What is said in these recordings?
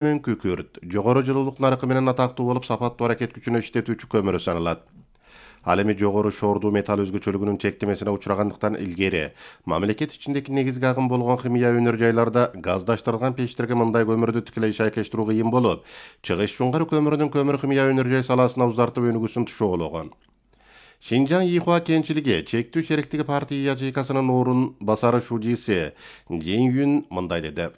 күкүрт жогору жылуулук наркы менен атактуу болуп, сапаттуу аракет күчүнө иштетүүчү көмүрү саналат. Ал эми жогору шоордуу металл өзгөчөлүгүнүн чектемесине учурагандыктан илгери мамлекет ичиндеги негизги агым болгон химия өнөр жайларда газдаштырылган печтерге мындай көмүрдү тикелей шайкештирүү кыйын болуп, Чыгыш Чуңкар көмүрүнүн көмүр химия өнөр жай саласына узартып өнүгүүсүн тушоологон. Шинжаң Ихуа кенчилиги чектүү шериктиги партия ячейкасынын орун басары шужиси Жин Юн мындай деди.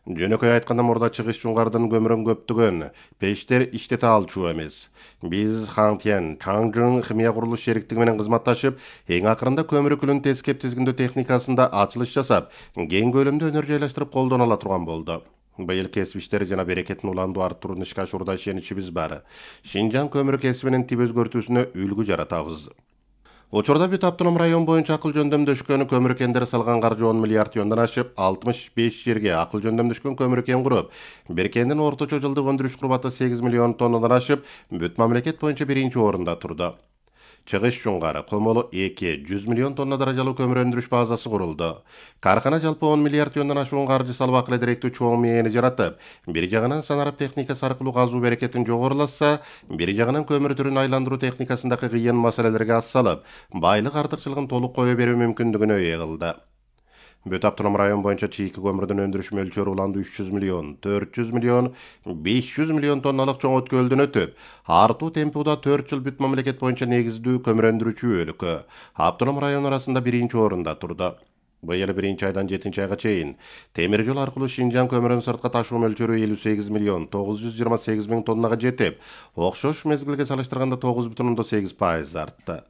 Жөнөкөй айтканда, мурда Чыгыш Чуңкардын көмүрүн көптөгөн пештер иштете алчу эмес. Биз Хантьян Чаңжың химия курулуш шериктиги менен кызматташып, эң акырында көмүр күлүн тескеп тизгиндөө техникасында ачылыш жасап, кең көлөмдө өнөр жайлаштырып колдоно ала турган болду. Быйыл кесип иштери жана берекетин уланду арттырууну ишке ашуурда ишеничибиз бар. Шинжаң көмүр кесибинин тип өзгөртүүсүнө үлгү жаратабыз. Учурда бүт автоном район боюнча акыл жөндөмдөшкөн көмүр кендери салган каржы 10 миллиард теннеден ашып, 65 жерге акыл жөндөмдөшкөн көмүр кен куруп, бир кендин орточо жылдык өндүрүш курбаты 8 миллион тоннадан ашып, бүт мамлекет боюнча биринчи орунда турду. Чыгыш Чуңкар Комолу 100 миллион тонна даражалуу көмүр өндүрүш базасы курулду. Каркана жалпы 10 миллиард теннеден ашуун каржы салып, акыл эдеректүү чоң мээни жаратып, бир жагынан санарип техникасы аркылуу казуу берекетин жогорулатса, бир жагынан көмүр түрүн айландыруу техникасындагы кыйын маселелерге ас салып, байлык артыкчылыгын толук кое берүү мүмкүндүгүнө ээ кылды. Бүт автоном район боюнча чийки көмүрдүн өндүрүш мөлчөрү уланды 300 миллион, 400 миллион, 500 миллион тонналык чоң өткөлдөн өтүп, артуу темпи уда 4 жыл бүт мамлекет боюнча негиздүү көмүр өндүрүүчү өлкө автоном район арасында биринчи орунда турду. Быйыл 1 айдан 7 айга чейин темир жол аркылуу Шинжаң көмүрүн сыртка ташуу мөлчөрү 58 миллион 928 миң тоннага жетип, окшош мезгилге салыштырганда 9,8% артты.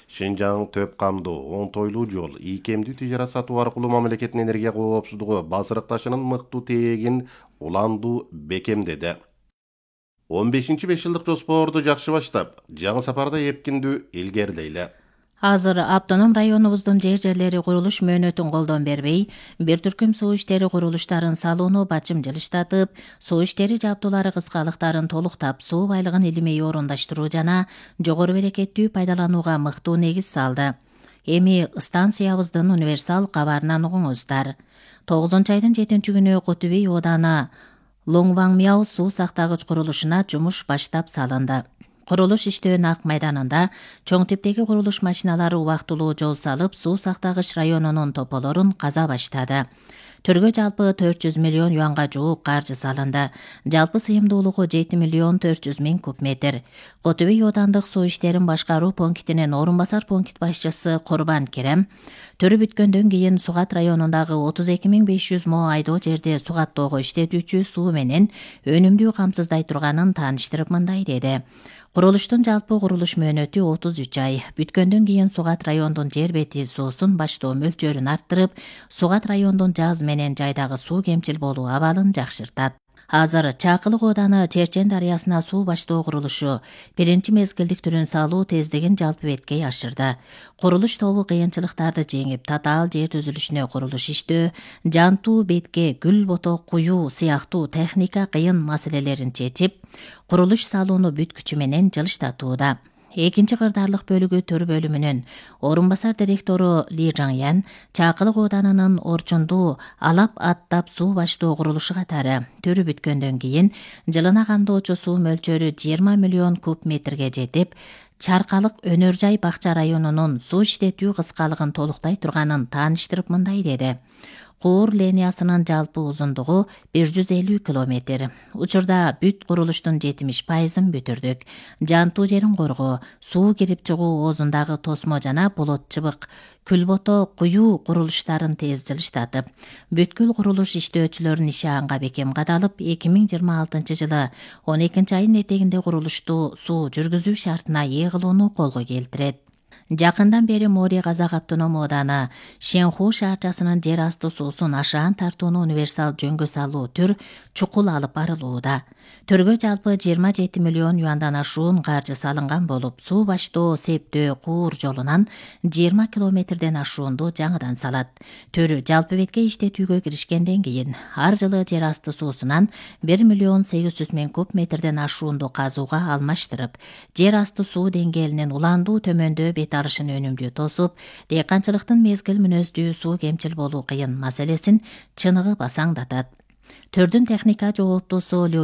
Шинжаң төп камдуу, оңтойлуу жол, ийкемдүү тижарат сатуу аркылуу мамлекеттин энергия коопсуздугу базырыкташынын мыктуу тегин уланду бекемдеди. 15-5 жылдык жоспорду жакшы баштап, жаңы сапарда эпкиндүү илгерилейли. Азыр автоном районубуздун жерлери курулуш мөөнөтүн колдон бербей, бир түркүм суу иштери курулуштарын салууну бачым жылыштатып, суу иштери жабдуулары кыскалыктарын толуктап, суу байлыгын илимей орундаштыруу жана жогору берекеттүү пайдаланууга мыктуу негиз салды. Эми станциябыздын универсал кабарынан угуңуздар. 9-айдын 7-күнү Котубей ооданы Лоңваңмяу суу сактагыч курулушуна жумуш баштап салынды. Курулуш иштөөнүн ак майданында чоң типтеги курулуш машиналары убактылуу жол салып, суу сактагыч районунун тополорун каза баштады. Төргө жалпы 400 миллион юанга жуук каржы салынды. Жалпы сыйымдуулугу 7 миллион 400 миң куб метр. Котубей оодандык суу иштерин башкаруу пунктинин орун басар пункт башчысы Курбан Керем төрү бүткөндөн кийин Сугат районундагы 32.500 мо айдоо жерде сугаттоого иштетүүчү суу менен өнүмдүү камсыздай турганын тааныштырып мындай деди. Курулуштун жалпы курулуш мөөнөтү 33 ай. Бүткөндөн кийин Сугат райондун жер бети суусун баштоо мөлчөрүн арттырып, Сугат райондун жаз менен жайдагы суу кемчил болуу абалын жакшыртат. Азыр Чакылык ооданы Черчен дарыясына суу баштоо курулушу биринчи мезгилдик түрүн салуу тездигин жалпы беткей ашырды. Курулуш тобу кыйынчылыктарды жеңип, татаал жер түзүлүшүнө курулуш иштөө, жантуу бетке гүл боток куюу сыяктуу техника кыйын маселелерин чечип, курулуш салууну бүт күчү менен жылыштатууда. Экинчи кырдаарлык бөлүгү төр бөлүмүнүн орун басар директору Ли Жаңян Чакылык ооданынын Орчунду алап аттап суу баштоо курулушу катары төрү бүткөндөн кийин жылына кандоочу суу мөлчөрү 20 миллион куб метрге жетип, Чаркалык өнөр жай бакча районунун суу иштетүү кыскалыгын толуктай турганын тааныштырып мындай деди. Куур линиясынын жалпы узундугу 150 километр. Учурда бүт курулуштун 70%-ын бүтүрдүк. Жантуу жерин коргоо, суу кирип чыгуу оозундагы тосмо жана болот чыбык, күлбото куюу курулуштарын тез жылыштатып, бүткүл курулуш иштөөчүлөрүнүн иши анга бекем кадалып, 2026 жылы 12-айдын этегинде курулушту суу жүргүзүү шартына ээ кылууну колго келтирет. Жакындан бери Мори Казак автоном ооданы Шенху шаарчасынын жер асты суусун ашаан тартууну универсал жөнгө салуу түр чукул алып барылууда. Төргө жалпы 27 миллион юандан ашуун каржы салынган болуп, суу баштоо Септөө Куур жолунан 20 километрден ашуунду жаңыдан салат. Төр жалпы бетке иштетүүгө киришкенден кийин ар жылы жер асты суусунан 1 миллион 800 миң куб метрден ашуунду казууга алмаштырып, жер асты суу деңгээлинин уландуу төмөндөө бет алышын өнүмдүү тосуп, дыйканчылыктын мезгил мүнөздүү суу кемчил болуу кыйын маселесин чыныгы басаңдатат. төрдүн техника жооптуусу